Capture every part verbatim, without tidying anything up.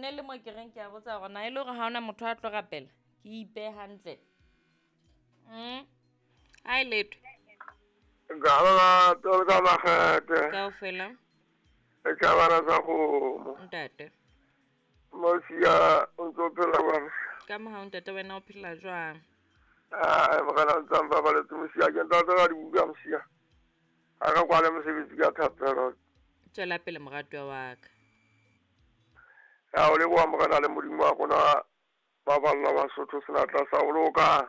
Ne le mo ke reng ke a botsa hore na e le hore ha hona motho a tlo rapela, ke ipehe hantle. Mm. Ha e letho. Ka tolo ka makgethe. Kaofela. E tjhabana sa kgomo. Ntate. Mosia o ntso phela jwang? Ka mohau ntate, wena o phela jwang? Ah, morena ntse a mpabaletse mosia, ke ntate ka dibuka mosia. Ha re kwale mosebetsi ka thapelo. Tswela pele moratuwa wa ka. Ya o leboha morena le Modimo wa rona ba balla Basotho senatla sa ho loka.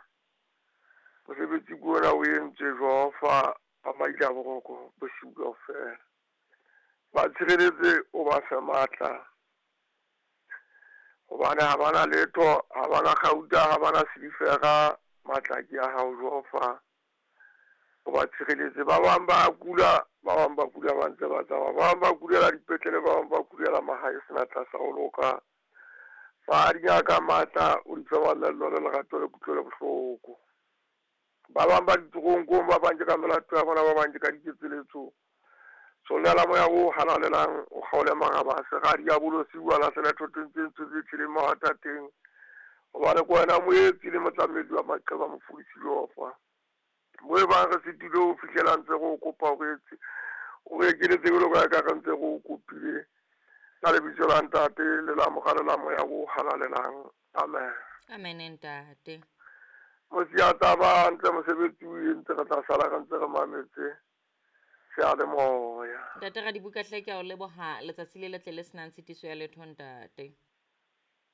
Mosebetsi ke ona o entswe Jehova ba maile a boroko bosiu kaofela. Ba tshireletse o ba fe matla. Hobane ha bana letho, ha bana kgauta, ha bana silifera, matla ke a hao Jehova. O ba tshireletse. Ba bang ba kula, ba bang ba kula ba ntse ba tsamaya, ba bang ba kulela dipetlele, ba bang ba kulela mahae senatla sa ho loka. Fa dingaka matla, o di fe mamello le lerato le kutlwelo bohloko. Ba bang ba ditoronkong, ba bang ke ka melato ya bona, ba bang ke ka diketseletso. Tshollela moya o halalelang, o kgaole maraba a sera diabolosi, o a lahlele thoteng tse ntsho tse tjheleng mahwatateng. Hobane ke wena moetsi le motlamedi wa maqeba mofodisi Jehova. Mo e bang re sitilwe ho fihlela ntse re o kopa o re etse, o re ekeletse jwalo ka ha eka re ntse re o kopile. Ka lebitso la Ntate le la Mora le la Moya o halalelang. Amen. Amen ntate. Mosia taba hantle mosebetsi o entse, re tla sala re ntse re mametse seyalemoya. Ntate Radibuka hle ke a o leboha letsatsi le letle le senang tshitiso ya letho ntate.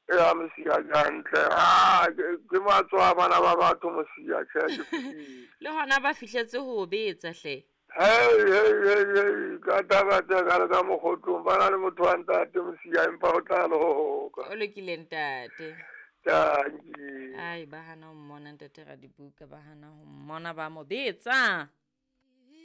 Ya mosia hantle. Ah, ke matswa bana ba batho mosia, tjhe ke fihlile. Le hona ba fihletse ho betsa hle. Hey, hey, hey, hey, ka taba tse ka le ka mokgotlong, ba na le motho wa ntate mosia empa o tla loka. O lokile ntate. Tanki. Ai, ba hana ho mmona ntate Radibuka, ba hana ho mmona ba mo betsa.